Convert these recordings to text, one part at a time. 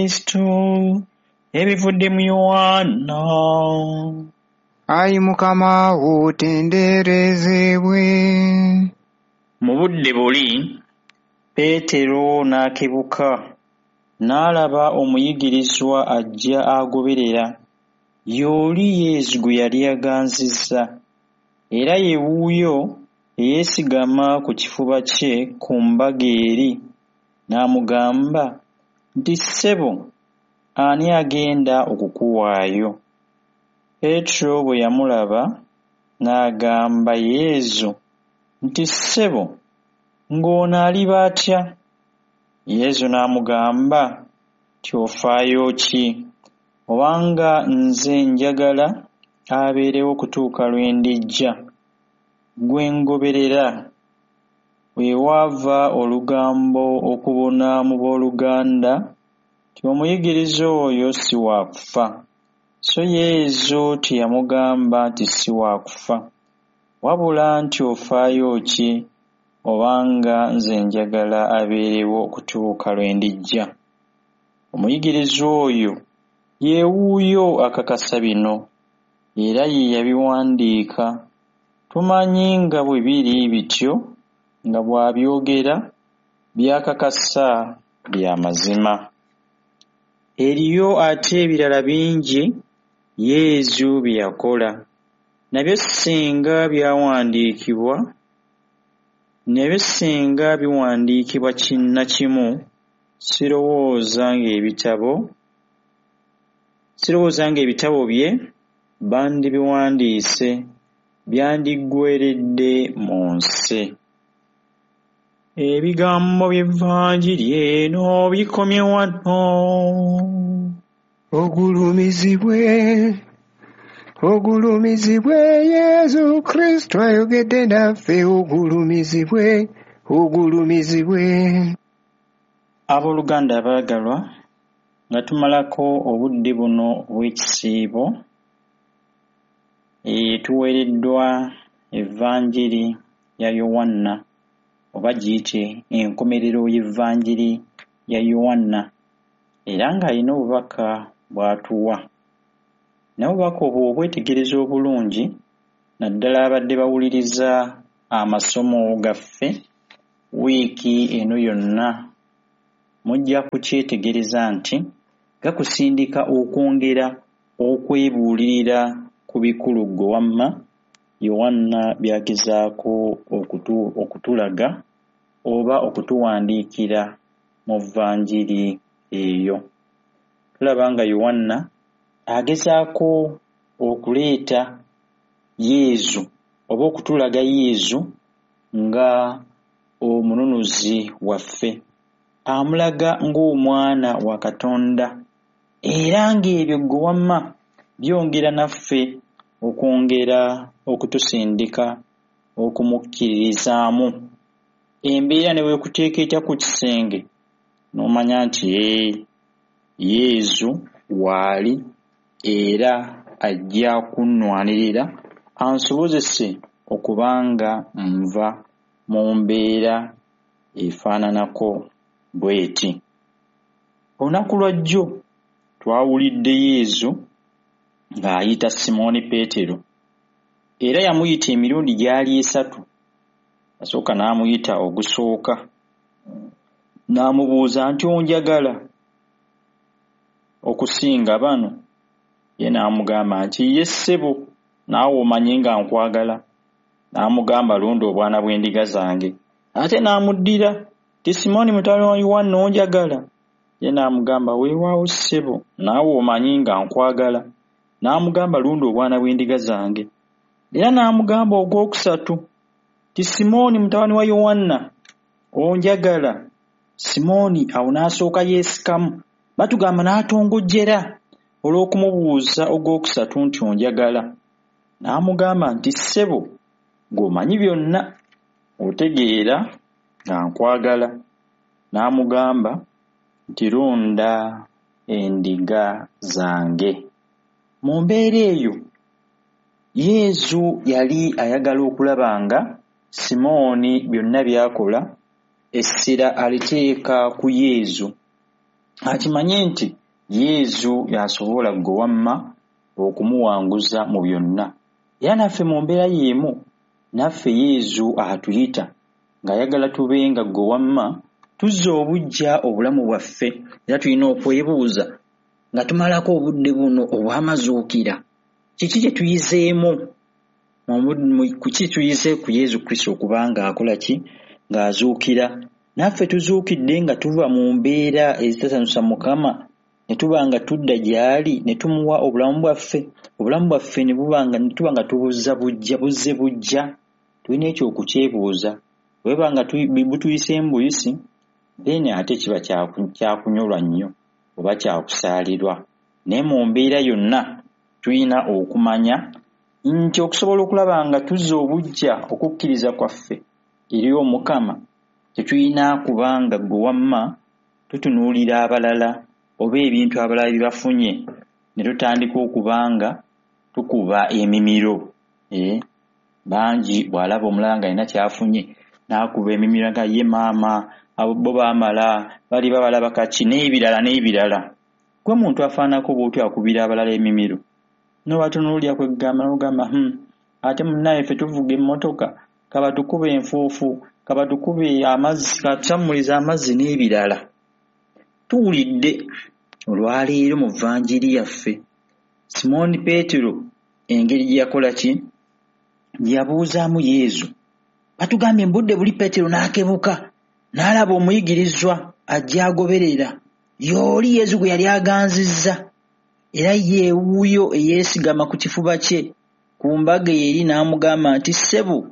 Kristo ebivudde mu Yoanna. Ayi Mukama otenderezebwe. Mu budde buli, Peetero n'akebuka n'alaba omuyigirizwa ajja agoberera, y'oli Yezu gwe yali aganzizza, era ye wuuyo eyeesigama ku kifuba kye ku mbaga eri, n'amugamba nti, "Ssebo, ani agenda okukuwaayo?" Peetero bwe yamulaba n'agamba Yezu nti, "Ssebo, ng'ono aliba atya?" Yezu n'amugamba nti, "Ofaayo ki obanga nze njagala abeerewo okutuuka lwe ndijja, ggwe ngoberera." We waava olugambo okubuna mu booluganda nti omuyigirizwa oyo si wa kufa, so Yezu teyamugamba nti si wa kufa, wabula nti ofaayo ki obanga nze njagala abeerewo okutuuka lwe ndijja. Omuyigirizwa oyo ye wuuyo akakasa bino, era ye yabiwandiika. Tumanyi nga bwe biri bityo nga bw'abyogera by'akakasa bya mazima. Eriyo ate ebirala bingi Yezu bye yakola, nabyo singa byawandiikibwa nabyo singa biwandiikibwa kinnakimu, sirowooza ng'ebitabo bye bandibiwandiise byandiggweeredde mu nsi. Ebigambo by'Evanjiri eno bikomye wano. Ogulumizibwe, ogulumizibwe Yezu Kristo ayogedde naffe, ogulumizibwe, ogulumizibwe. Abooluganda abaagalwa, nga tumalako obudde buno obw'ekisiibo, tuweereddwa Evanjiri ya Yoanna, oba giyite enkomerero y'Evanjiri ya Yoanna, era ng'alina obubaka bw'atuwa. Naye obubaka obwo obwetegereza obulungi, naddala abadde bawuliriza amasomo gaffe wiiki eno yonna, mujja kukyetegereza nti gakusindika okwongera okwebuulirira ku bikulu ggwe wamma Yoanna by'agezaako okutulaga oba okutuwandiikira mu Vanjiri eyo. Tulaba nga Yoanna agezaako okuleeta Yezu oba okutulaga Yezu nga omununuzi waffe, amulaga ng'omwana wa Katonda, era ng'ebyo ggwe wamma byongera naffe okwongera okutusindika okumukkiririzaamu. Embeera ne bw'ekuteeka etya ku kisenge, n'omanya nti Yezu waali era ajja kunnwanirira ansobozese okubanga nva mu mbeera efaananako bw'eti. Olunaku lwa jjo twawulidde Yezu ng'ayita Simooni Peetero, era yamuyita emirundi gyali esatu. Yasooka n'amuyita ogusooka, n'amubuuza nti onjagala okusinga bano? Ye n'amugamba nti ye ssebo, naawe omanyi nga nkwagala. N'amugamba lunda obwana bw'endiga zange. Ate n'amuddira nti Simooni mutabani wa Yoanna onjagala? Ye n'amugamba weewaawo ssebo, naawe omanyi nga nkwagala. N'amugamba lunda obwana bw'endiga zange. Era n'amugamba ogwokusatu nti Simooni mutabani wa Yoanna onjagala? Simooni awo n'asooka yeesikamu, batugamba n'atongojjera olw'okumubuuza ogwokusatu nti onjagala. N'amugamba nti ssebo, ggw'omanyi byonna, otegeera nga nkwagala. N'amugamba nti lunda endiga zange. Mu mbeera eyo Yezu yali ayagala okulaba nga Simooni byonna by'akola essira aliteeka ku Yezu. Akimanye nti Yezu y'asobola ggwe wamma okumuwanguza mu byonna. Era naffe mu mbeera y'emu, naffe Yezu atuyita ng'ayagala tube nga ggwe wamma tuzza obuggya obulamu bwaffe. Era tulina okwebuuza nga tumalako obudde buno obw'amazuukira, kiki kye tuyizeemu? Kiki tuyize ku Yezu Kristo okuba ng'akola ki? Ng'azuukira. Naffe tuzuukidde nga tuva mu mbeera ezitasanyusa Mukama, ne tuba nga tudda gy'ali, ne tumuwa obulamu bwaffe, obulamu bwaffe ne buba nga ne tuba nga tubuzza buggya, buzze buggya. Tulina ekyo okukyebuuza. Bwe biba nga butuyiseemu buyisi, then ate kiba kyakunyolwa nnyo oba kyakusaalirwa. Naye mu mbeera yonna tulina okumanya nti okusobola okulaba nga tuzza obuggya okukkiriza kwaffe eri Omukama, tetulina kubanga ggwe wamma tutunuulira abalala oba ebintu abalala bye bafunye ne tutandika okubanga tukuba emimiro. Bangi bw'alaba omulala ng'alina ky'afunye n'akuba emimiro nga ye maama, abo bo baamala, bali babalaba kaki n'ebirala n'ebirala. Ggwe muntu afaananako bw'otyo akubira abalala emimiro n'obatunuulira kwegamba n'ogamba ate munnaye ffe tuvuga emmotoka, kabatukube enfuufu, kabatukube amazzi, katusammulize amazzi n'ebirala. Tuwulidde olwaleero mu Vanjiri yaffe Simooni Peetero engeri gye yakola ki? Gye yabuuzaamu Yezu. Batugambye mu budde buli Peetero n'akebuka n'alaba omuyigirizwa ajja agoberera y'oli Yezu gwe yali aganzizza, era ye wuuyo eyeesigama ku kifuba kye ku mbaga eri n'amugamba nti, ssebo,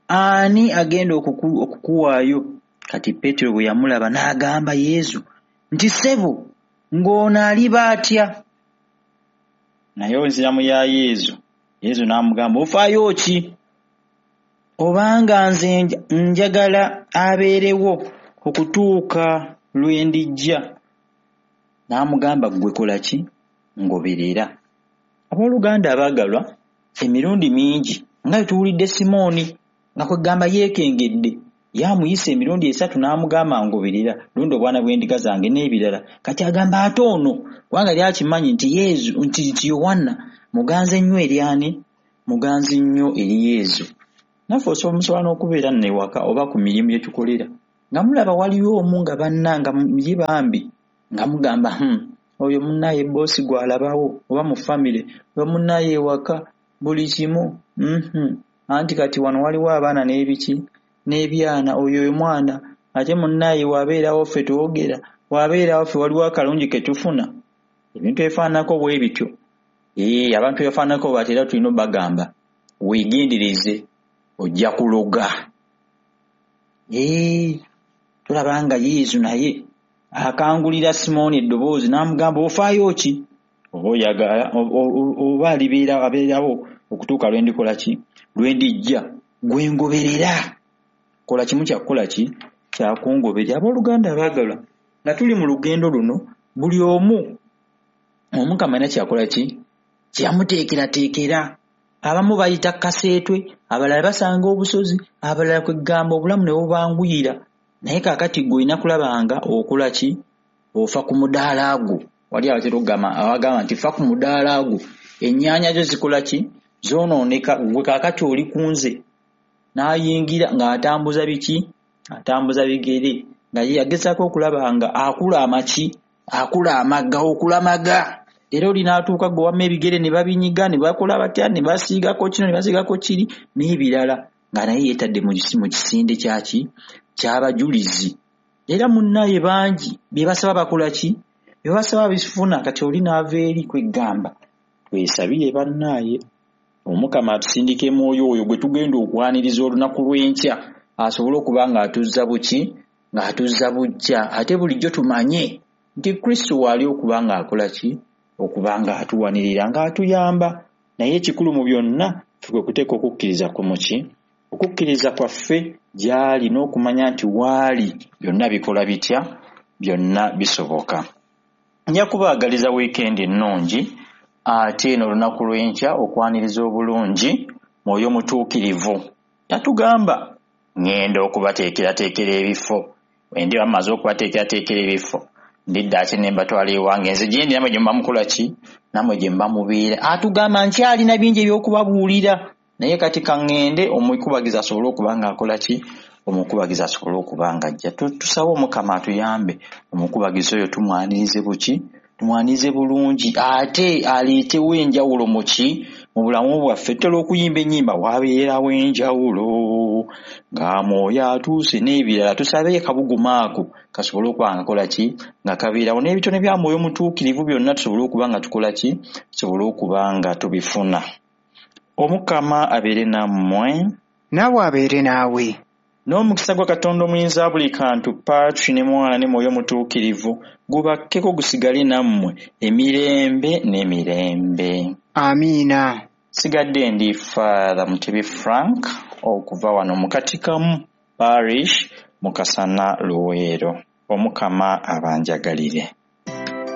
ani agenda okukuwaayo? Kati Peetero bwe yamulaba n'agamba Yezu nti, ssebo, ng'ono aliba atya? Naye enziramu ya Yezu, Yezu n'amugamba, ofaayo ki? Obanga nze njagala abeerewo okutuuka lwe ndijja. N'amugamba, ggwe kola ki? Ngoberera. Abooluganda abaagalwa, emirundi mingi nga bwe tuwulidde Simooni nga kwegamba yeekengedde, ye amuyise emirundi 3 n'amugamba ngoberera, lunda obwana bw'endiga zange n'ebirala. Kati agamba ate ono, kubanga yali akimanyi nti Yezu, nti Yowanna muganzi ennyo eri ani? Muganzi nnyo eri Yezu. Naffe musobola n'okubeera nno ewaka oba ku mirimu gye tukolera nga mulaba waliwo omu nga banna nga ye bambi nga mugamba oyo munnaye boosi gw'alabawo oba mu famire oyo munnaye ewaka buli kimu anti kati wano waliwo abaana n'ebiki n'ebyana, oyo omwana ate munnaye wabeerawo ffe twogera, wabeerawo ffe waliwo akalungi ke tufuna. Ebintu ebifaananako bwe bityo. Abantu ebifaananako bati era tulina obbagamba weegendereze ojja kuloga. Tulaba nga Yezu naye akangulira Simooni eddoboozi n'amugamba ofaayo ki? Oba oyagala oba alibeera abeerawo okutuuka lwe ndikola ki? Lwe ndijja. Gwe ngoberera. Kola kimu kya kukola ki? Kya kungoberera. Abooluganda abaagalwa, nga tuli mu lugendo luno, buli omu Omukama alina kyakola ki? Kye yamuteekerateekera. Abamu bayita kaseetwe, abalala basanga obusozi, abalala kwegamba obulamu ne bubanguyira. Naye kaakati ggwe olina kulaba nga okola ki? Ofa ku mudaala gwo. Wali abatera okugamba abagamba nti fa ku mudaala gwo. Ennyaanya zo zikola ki? Zoonooneka. Ggwe kaakati oli ku nze. N'ayingira ng'atambuza biki? Atambuza bigere. Nga ye agezaako okulaba nga akula amaki? Akula amagga, okulamaga. Era oli n'atuuka gwe wamma ebigere ne babinyiga ne bakola batya ne basiigako kino ne basiigako kiri n'ebirala, nga naye yeetadde mu kisinde kyaki? Ky'abajulizi. Era munnaye bangi bye basaba bakola ki? Bye basaba bifuna. Kati oli n'ava eri kwegamba twesabire bannaaye Omukama atusindike mwoyo oyo gwe tugenda okwaniriza olunaku lw'enkya asobole okuba ng'atuzza buki? Ng'atuzza buggya. Ate bulijjo tumanye nti Kristo waali okuba ng'akola ki? Okuba ng'atuwanirira, ng'atuyamba. Naye ekikulu mu byonna ffe kwe kuteeka okukkiriza ku muki? Okukkiriza kwaffe gy'ali n'okumanya nti waali byonna bikola bitya? Byonna bisoboka. Nja kubaagaliza wiikendi ennungi ate n'olunaku lw'enkya okwaniriza obulungi Mwoyo Mutuukirivu. Yatugamba ŋŋenda okubateekerateekera ebifo. Bwe ndiba mmaze okubateekerateekera ebifo, Ndidda ate ne mbatwala ewange, nze gye ndi nammwe gye muba mukola ki? Nammwe gye muba mubeera. Atugamba nkyalina bingi eby'okubabuulira, naye kati ka ŋŋende omukubagiza asobole okuba ng'akola ki? Omukubagiza asobole okuba ng'ajja. Tusabe Omukama atuyambe, omukubagiza oyo tumwanirize buki? Tumwanirize bulungi, ate aleetewo enjawulo mu ki? Mu bulamu bwaffe. Tutera okuyimba ennyimba, wabeerawo enjawulo nga mwoyo atuuse n'ebirala. Tusabe akabugumu ako kasobole okuba nga kakola ki? Nga kabeerawo, n'ebitone bya mwoyo mutuukirivu byonna tusobole okuba nga tukola ki? Tusobole okuba nga tubifuna. Omukama abeere nammwe. Naawe abeere naawe. N'omukisa gwa Katonda omuyinza buli kantu, Patri ne Mwana ne Mwoyo Mutuukirivu, gubakkeko gusigale nammwe emirembe n'emirembe. Amiina. Sigadde ndi Father Mutebi Frank okuva wano mu Katikamu Parish mu Kasana Luweero. Omukama abanjagalire.